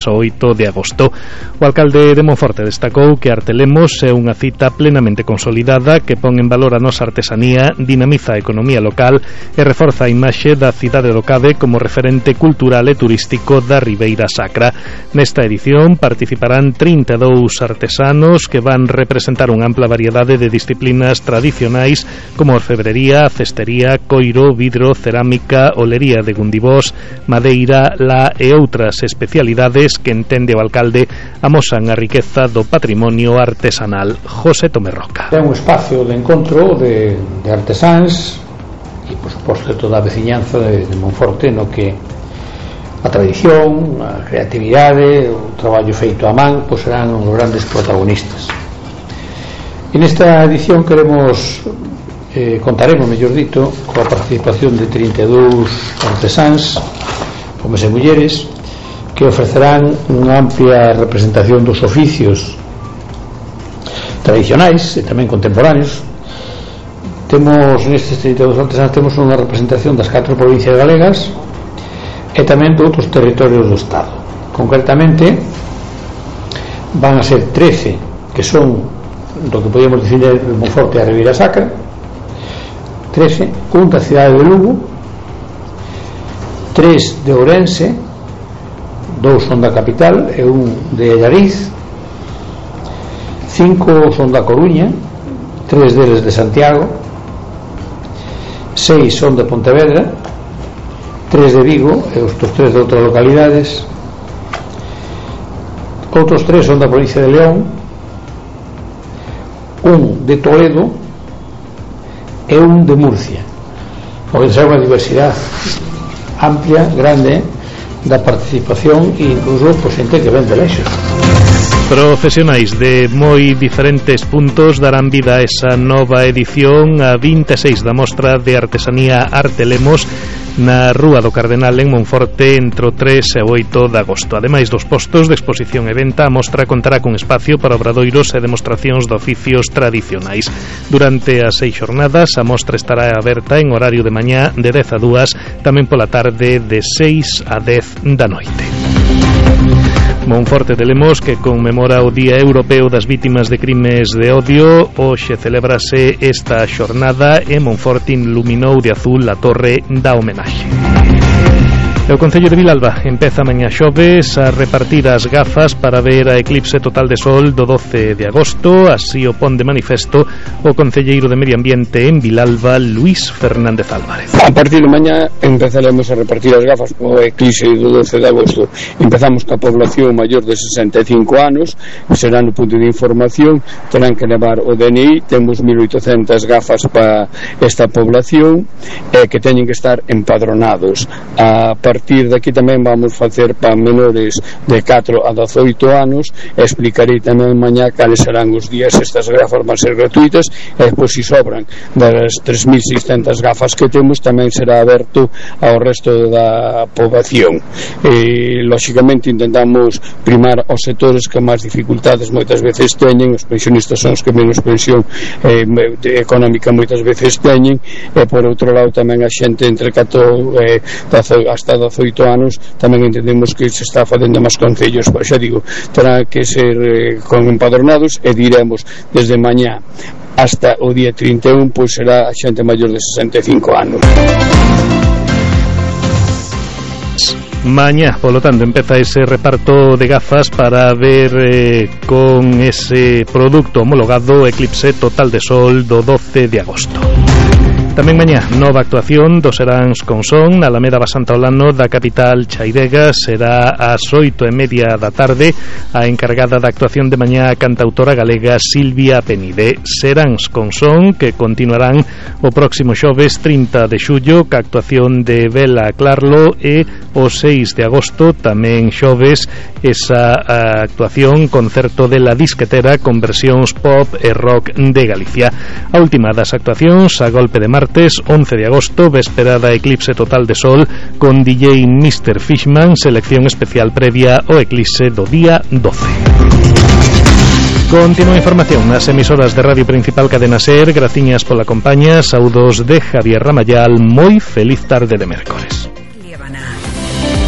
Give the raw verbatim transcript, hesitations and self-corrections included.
oito de agosto. O alcalde de Monforte destacou que Artelemos é unha cita plenamente consolidada que pon en valor a nosa artesanía, dinamiza a economía local e reforza a imaxe da cidade do Cade como referente cultural e turístico da Ribeira Sacra. Nesta edición participarán trinta e dous artesanos que van representar unha ampla variedade de disciplinas tradicionais como orfebrería, cestería, coiro, vidro, cerámica, olería de Gundibós, madeira, la e outras especialidades que entende o alcalde amosan a riqueza do patrimonio artesanal. José Tomerroca. É un espacio de encontro de, de artesáns e, por suposto, de toda a veciñanza de, de Monforte, no que a tradición, a creatividade, o traballo feito a man, pois serán os grandes protagonistas. E nesta edición queremos eh, contaremos, mellor dito, coa participación de trinta e dous artesáns, homes e mulleres, que ofrecerán unha amplia representación dos oficios tradicionais e tamén contemporáneos. Temos nestes trinta e dous artesáns temos unha representación das catro provincias galegas e tamén de outros territorios do Estado. Concretamente van a ser trece que son do que podíamos dicir de Monforte a Ribeira Sacra, trece, un da cidade de Lugo, tres de Ourense, dous son da capital e un de Allariz, cinco son da Coruña, tres deles de Santiago, seis son de Pontevedra, tres de Vigo e outros tres de outras localidades, outros tres son da provincia de León, un de Toledo e un de Murcia. O que é unha diversidade amplia, grande da participación e incluso por xente que ven de lexos. Profesionais de moi diferentes puntos darán vida a esa nova edición, a vinte e seis da mostra de artesanía Artelemos na Rúa do Cardenal en Monforte entre o tres e o oito de agosto. Ademais dos postos de exposición e venta, a mostra contará con espacio para obradoiros e demostracións de oficios tradicionais. Durante as seis xornadas, a mostra estará aberta en horario de mañá de dez a dúas, tamén pola tarde de seis a dez da noite. Monforte de Lemos, que conmemora o Día Europeo das Vítimas de Crimes de Odio, hoxe celébrase esta xornada e Monforte iluminou de azul a torre da homenaxe. O Concello de Vilalba empeza mañá xoves a repartir as gafas para ver a eclipse total de sol do doce de agosto, así o pon de manifesto o concelleiro de Medio Ambiente en Vilalba, Luís Fernández Álvarez. A partir de mañá empezaremos a repartir as gafas o eclipse do doce de agosto. Empezamos ca población maior de sesenta e cinco anos, será no punto de información, terán que levar o D N I, temos mil oitocentas gafas para esta población eh, que teñen que estar empadronados. A partir A partir de aquí tamén vamos facer para menores de catro a dezoito anos e explicarei tamén mañá cales serán os días. Estas gafas van ser gratuitas e depois, se sobran das tres mil seiscentas gafas que temos, tamén será aberto ao resto da poboación. E, lóxicamente, intentamos primar aos sectores que máis dificultades moitas veces teñen. Os pensionistas son os que menos pensión eh, económica moitas veces teñen, e por outro lado tamén a xente entre catro eh, hasta dezoito anos tamén entendemos que se está facendo máis concellos, pois xa digo, terá que ser eh, con empadronados e diremos desde mañá hasta o día trinta e un, pois será a xente maior de sesenta e cinco anos. Mañá, polo tanto, empeza ese reparto de gafas para ver eh, con ese produto homologado eclipse total de sol do doce de agosto. Tamén mañá, nova actuación dos Seráns con Son na Alameda Basanta Olano da capital chairega. Será ás oito e media da tarde. A encargada da actuación de mañá, a cantautora galega Silvia Penide. Seráns con Son, que continuarán o próximo xoves trinta de xullo ca actuación de Bela Clarlo, e o seis de agosto tamén xoves esa actuación concerto de La Disquetera con versións pop e rock de Galicia. A última das actuacións, a golpe de martes, once de agosto, véspera da eclipse total de sol con D J mister Fishman, selección especial previa ao eclipse do día doce. Continúa a información nas emisoras de Radio Principal Cadena Ser. Graciñas pola compañía. Saúdos de Javier Ramayal. Moi feliz tarde de mércores.